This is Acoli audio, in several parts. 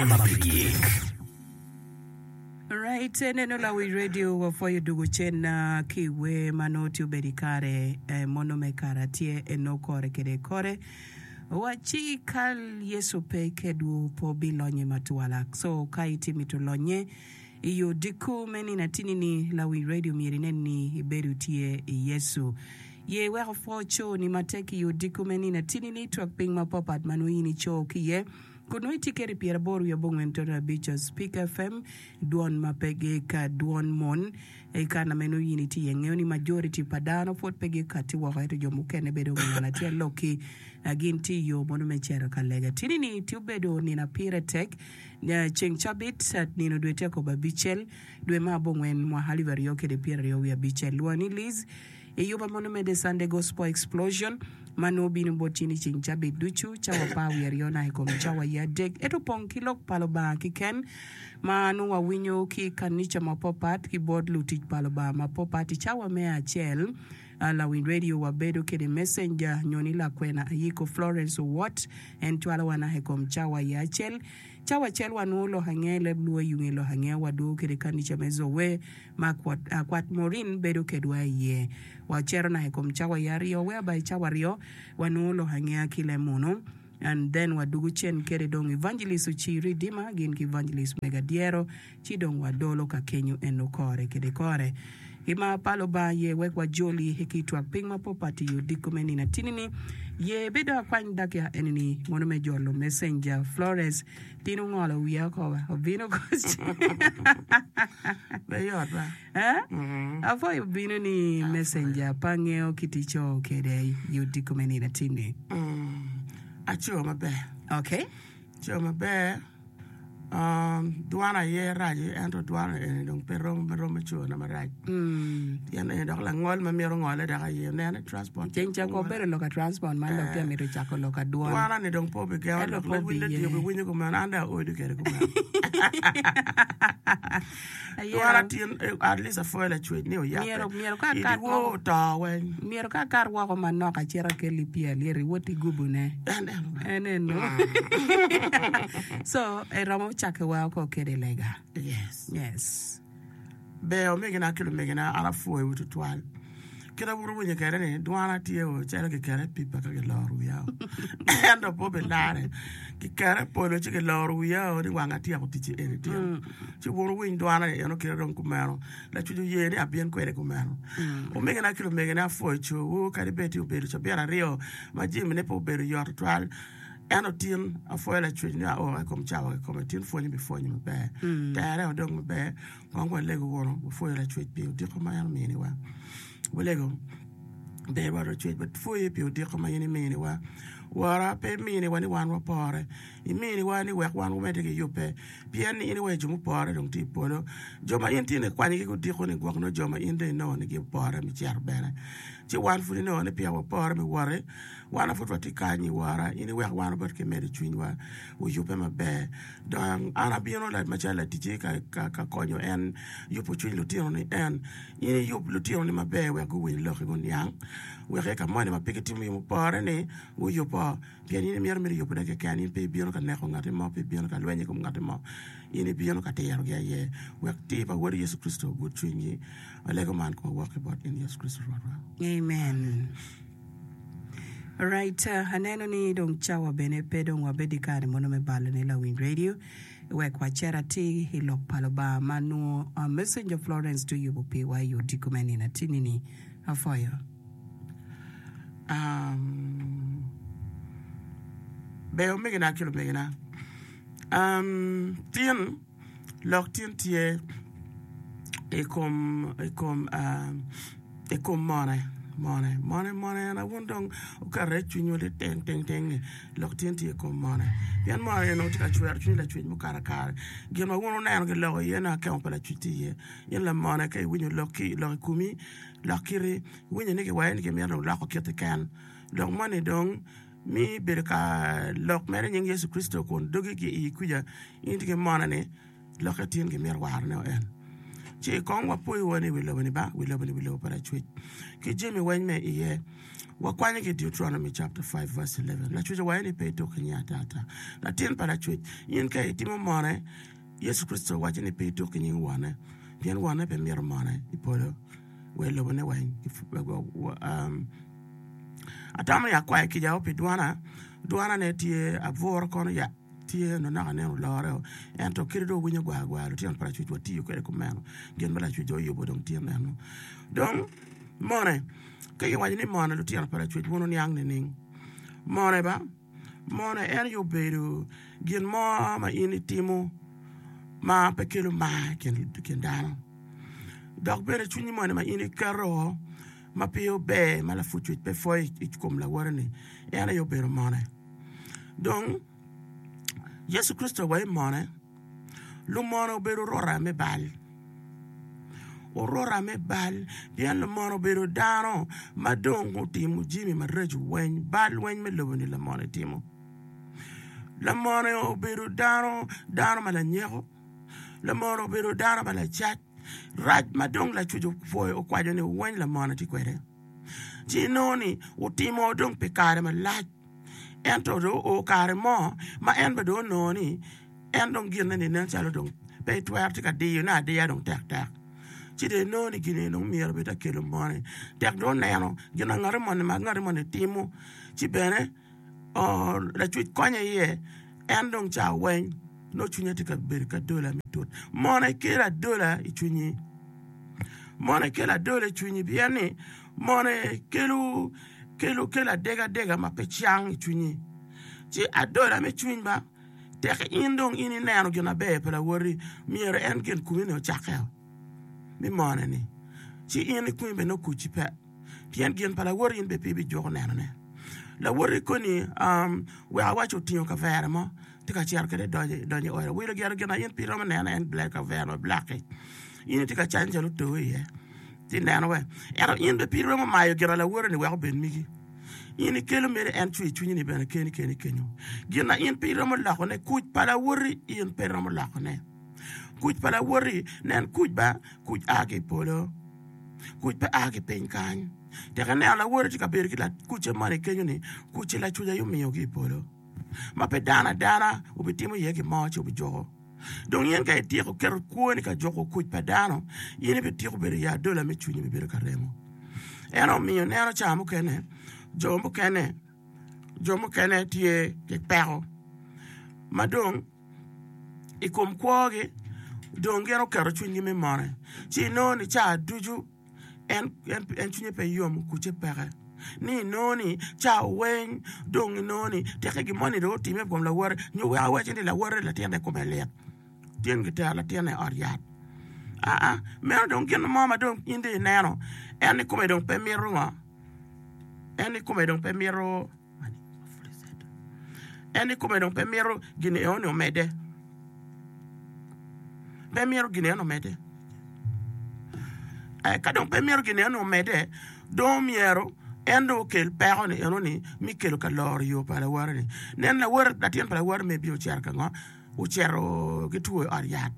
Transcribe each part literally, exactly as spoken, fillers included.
Dwon ma pe gik. Right, neno lawic radio wapwoyo dugo cen ki wer ma nongo tye obedo i kare mono me kare atye eno kore kede kore wacci ka Yecu pe kedwu pe wubilonye matwala. So ka itye mito lonye i odiko me nino atini ni lawic radio myero inen ni ibedo tye i Yecu. Ye wek opwo coni matek i odiko me nino atini ni twak piny mapapat ma nongo in ico ki iye. Kun nongo itye kede pyeraboro wiye abongwen toto abic Speak FM, dwon ma pe gika dwon mon. I kana ma nongo in itye iye, ngeyo ni majority pa dano pwod pe gikati woko ento jo mukene bedo ngat acel lokki gin tye i yo mono me cito ka lega. Tini ni tye obedo nino apire tek, ceng cabit nino dwe tye akobo abicel dwe me abongwen mwaka alip aryo kede pyeraryo wiye abicel. Lwongo ni Liz. I yuba mono me The Sunday Gospel Explosion ma nongo bino bot in i ceng cabit ducu, cawa apar wiye aryo naka i kom cawa aye adek, ento opong ki lok pa Lubanga kiken ma nongo wawinyo ki i kanica mapapat ki bot lutic pa Lubanga mapapat. I cawa me acel, lawiny radio wabedo kede messenger nyo ni lakwena Ayiko Florence Owot, en cwalowa naka i kom cawa aye acel. Cawa acel wanongo lok ange leb luo i yunge lok ange wadwogo kede kanica me Zoe ma Kwat Maureen bedo kedwa iye. Wacito naka i kom cawa i aryo whereby cawa aryo wanongo lok angeya ki le munu and then wadugu cen kede dong Evangelist Ocir Redeemer gin ki Evangelist Mega Dyero ci dong wadolo ka kenyo eno kore kede kore. I mar pa Lubanga ye wek wajoli ki twak piny ma popat i odiko me nino atini ni ye bedo akwany dakika eni ni mono me jolo Messenger Flores Tin ongolo wiya oko ba, obino koc. Be yot ba. Eh? Apwoyo obino ni messenger pe angeyo kit ico kede i odiko me nino atinni. Aco maber. Okay. Aco maber. Um, dwana aye rac ento dwana eni dong pe rom rom me cona marac. Pien eni dok langol ma mito ngole dok aye nene transport. Ceng cako obedo lok a transport man dok tye mito cako lok a dwon. Dwana ni dong pe obigengo Ento dok pe lawil obiye. radio biwinyo kumeno an dong aodo kede kumeno. Ayero. Dwana tin eh, at least apwoyo lacwec ni oyabbe. Myero myero ka I akat dyewor woko oto weng. myero ka akat woko manok acit akelli pii alyet iwot igubone. En eno ba. En eno. So eromo cake wa oko kede lega. Yes. Yes. Ber omegina ki lumegina, an apwoyowu twatwal. Kit ma wun wuwinyo kwede ni dwana tye o calo giketo i pipa ka giloro wiya o. Ento pe obilarre. Giketo i polo ci giloro wiya o ni wang atyeko ticci eni tin. Ci wun wuwiny dwana ni eno kite dong kumeno. Lacwec oye ni abin kwede kumeno. Omegina ki lumegina, apwoyo cowu kadi bed ti obedo cabit aryo ma jamine pe obedo yot twatwal. Ento tin apwoyo Lacwec ni ao i kom cawa kikome, tin pwonye bipwonyo maber. Tere odong maber, kong walego wunu, wapwoyo Lacwec pi odiko ma en ominiwa. Walego, Ber Rwot Lacwec, wapwoyi pi odiko ma in iminiwa. Wora, pe iminiwa ni wan wapore, iminiwa ni wek wan wamedde ki yubbe, pien ni in iweyo jo mupore dong tye i polo. Jo ma in tye ni ikwanyogi ki odiko-ni gwok nongo jo ma in dong inongo ni gipore me cito bene. Ci wan pud inongo ni peya wapore me woti. Wan ma pud watye kany i wora, in iwek wan wabed ki medo cwinywa oyubbe maber. Dong an abino macalo laticci ka konyo en yubo cwiny lutinoni. En, in iyub lutinoni maber wek guwiny lokki guniang, wek ka moni ma pe gitimo gin mupore-ni guyubbo, pien in imito mere yubone keken. In pe ibino ka neko ngatti mo, pe ibino ka lweny i kom ngatti mo, in ibino ka tirogi aye, wek tir pa Wodi Yecu Kricito ogud cwinygi. Walego man kun wawok ki bot in Yecu Kricito Rwotwa. Amen. Right, aneno ni dong cawa bene pe dong wabed i kare mono me balo ne lawiny radio wek wacer atir i lok pa Lubanga ma nongo Messenger Florence tye oyubo piwa i odiko me nino atini ni. Apwoyo. Um, ber omegina ki lumegina. Um, tin Lok tin tye i kom i kom i kom mone mone mone mone en aye wun dong wuketo iye cwinywu liting ting ting ni lok tin tye i kom mone pien mone onongo tye ka cwero cwiny lacwec mukato kare gin ma wun wuneno giloko iye nongo akemo pa lacwec tye iye in lamone ka iwinyo lok ki lok i komi lok kiti iwinyo ni kiwaco ni kimito dong loko kiti ken lok moni dong Mi bedo ka lok mere i nying Yecu Kricito kun dogi ki iyi kwica, in itye ki mone ni lokke tin gimito warone o en. Ci kong wapoyo wa ni wi lobo ni ba, wi lobo ni wi lobo pa Lacwec. Ki jami weny me iye, wakwanyo ki Deuteronomy chapter five verse eleven. Lacwec owaco ni pe ituk ki nyinge ata ata. Latin pa Lacwec, in ka itimo mone, Yecu Kricito owaco ni pe ituk ki nying Wonne, pien Wonne pe mito mone i polo wa i lobone weng. Atamo ni akwayo kica pi dwana, dwana ne tye abwuro kono ya tye onongo naka aneno olore o, ento kadi dong owinyo gwar gwar lutino pa Lacwec watiyo kwede kumeno, gin ma Lacwec dong oyubo dong tye meno. Dong mone, ka kiwaco ni mone lutino pa Lacwec wun wuniang nining? Mone ba, mone en aye obedo gin mo ma in itimo ma pe kelo mar i kin dano, dok bene cwinyi moni ma in iketo ma pe ober ma lapwod cwec pe pwoyo i kom lawote-ni, en aye obedo mone. Dong, Yecu Kricito wa i mone, lumone obedo orota me bal. Orota me bal, pien lumone obedo dano ma dong otimo jami maraco weng, bal weng me lobo-ni lamone timo. Lamone obedo dano, dano ma lanyeko, lamone obedo dano ma lacac, rac ma dong Lacwec opwoyo okwaco ni weng lamone tye kwede. Ci inongo ni otimo dong pi kare malac. Ento dong oo kare mo ma en bene dong onongo ni en dong ginne ni nen calo dong pe etwero tye ka diyone adiya dong tektek. Ci dong enongo ni gin-ni dong myero bed akelo moni. Tek dong oneno gin ma ngati moni ma ngati moni timo ci bene Lacwec konye iye en dong ca weng nongo cwinye tye ka bedo ki adola me tut. Mono ikelo adola i cwinyi? Mono ikelo adola i cwinyi pien ni mono kelo kelo kelo adegadega ma pe cang i cwinyi. Ci adola me cwiny ba tek in dong in ineno gin maber pa lawoti myero en gin komi ni ocakke me mone ni ci in ikomi bene nongo kucci pe pien gin pa lawoti in bene pe ibijuko nenone. Lawoti koni wek awac otingo kavere mo tye ka cito kwede donyo i ode wilo gire gin ma in pe iromo neno en kavere ma black-ki in itye ka canyo calo oto iye ci ineno we ento in bene pe iromo mayo gin ma lawoti-ni wek obed megi in ikelo mere en cwer cwinyi-ni bene keni keni kenyo gin ma in pe iromo lokone kuc pa lawoti in pe iromo lokone kuc pa lawoti nen kuc ba kuc a ki i polo kuc pe a ki piny kany tek ineno lawoti tye ka bedo ki kucce moni kenyo-ni kucce lacuc aye omiyo ki i polo ma pe dano adana obitimo iye gin mo ci obijuko. Dong in ka ityeko keto kwoni ka juko kuc pa dano, in ibityeko bedo i adola me cwinyi bibedo ka remo. En omiyo neno ca mukene jo mukene jo mukene tye ki peko ma dong i kom kwogi dong gin oketo cwinygi me mone ci inongo ni ca ducu en en cwinye pe yom kucce peke ni inongo ni ca weng dong inongo ni teke gin moni dong otime i kom lawote nyo wek awaci ni lawote latinne kome lit tyen kitero latinne i ot yat aa meno dong gin mo ma dong in dong ineno en kome dong pe mito ngo en kome dong pe mito En i kome dong pe mito gin enoni omedde. Pe mito gin enoni omedde. Eh, ka dong pe mito gin enoni omedde, dong myero en dong okel peko ni enoni mi kelo ka loro yo pa lawote ni. Nen lawote, latin pa lawote me bino ocito ka ngo? Ocito ki two i ot yat.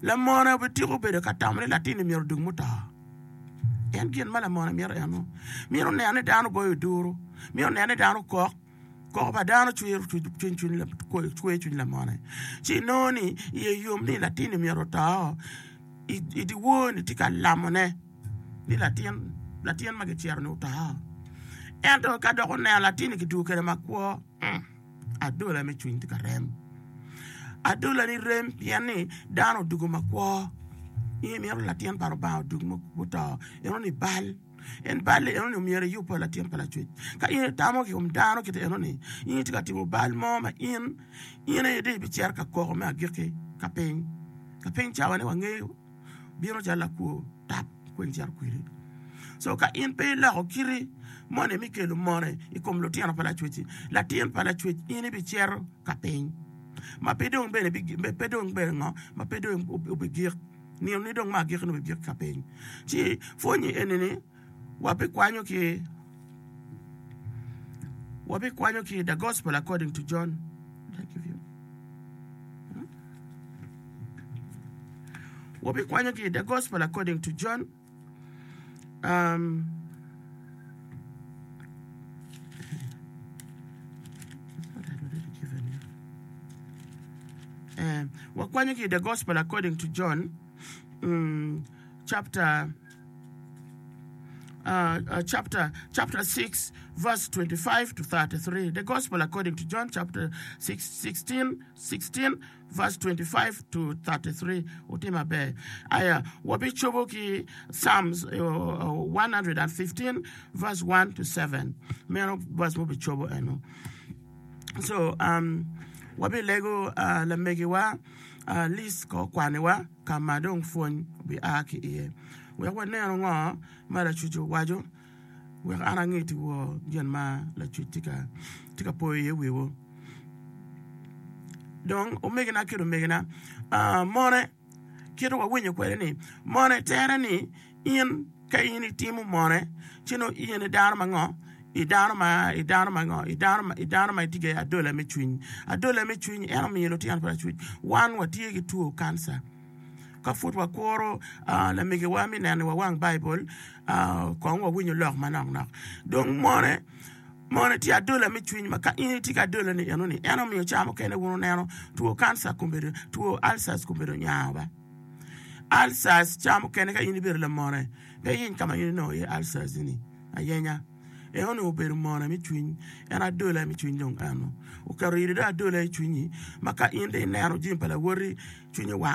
Lamone obitiko bedo ka tamo ni latin-ni myero odug muto. En gin ma lamone mito eno. Mito neno ni dano goyo oduru, mito neno ni dano kok. Koko pa dano cwer cwiny lamone. Ci inongo ni iye yom ni latin-ni myero oto. I dyewor-ni tye ka lamone ni latin latin ma kicero-ni oto. Ento ka dok oneno latin-ni kidwogo kwede makwo, adola me cwiny tye ka rem. Adola-ni rem pien ni dano odwogo makwo. In imito latin pa Lubanga odwog muto, enoni bal. En bal-li enoni omyero iyub pa latin pa Lacwec. Ka in itamo i kom dano kit enoni, in itye ka timo bal mo ma in in aye dong ibicito ka koko me agikki ka piny. Ka piny cawa-ni wangeyo bino calo lakwo tap kweny cito kwedi. So ka in pe iloko kiti moni me kelo mone i kom lutino pa Lacwec-ci, latin pa Lacwec in ibicito ka piny ma pe dong bene pe dong bene ngo ma pe dong obigik. Nino ni dong me agikki ni obigik ka piny. Ci pwonyi eni ni wabikwanyo ki wabikwanyo ki the gospel according to John. Did I give you? Wabikwanyo ki i The Gospel According to John. Um, eh, wakwanyo ki i The Gospel According to John, mm, chapter uh, uh, chapter chapter six, verse twenty-five to thirty-three. The Gospel According to John, chapter six, sixteen, sixteen, verse twenty-five to thirty-three. Otim maber. Aya, wabicobo ki Psalms uh, uh, one hundred and fifteen, verse one to seven. Meno verse mubicobo eno. So, um, wabilego uh, lamegiwa uh, Liz ko kwaniwa ka ma dong pwony bi a ki iye. Wek waneno ngo ma lacuc owaco, wek an angeti wo gin ma lacuc tye ka, tye ka poyo iye wiwo. Dong omegina ki omegina, uh, mone kit wawinyo kwede ni mone tere ni in ka in itimo mone ci nongo in i dano ma ngo, i dano ma, i dano ma ngo, i dano ma, i dano ma itye ki adola me cwiny. Adola me cwiny en omiyo lutino pa lacuc wan watye ki two kanca. Ka pud wakuro, uh, lamegiwa me neno wa wang Baibul, uh, kong wawinyo lok manok nok. Dong mone, mone tye adola me cwiny ma ka in itye ki adola ni eno ni, en omiyo ca mukene wun oneno two kanca kombedo, two ulcers kombedo nyango ba. Ulcers ca mukene ka in ibedo lamone, pe iyeny ka ma in inongo iye ulcers ni ayenya. Eno ni obedo mone me cwiny, en adola me cwiny dong eno. Oketo iri dong adola i cwinyi, ma ka in dong ineno jami pa lawoti, cwinyi wang.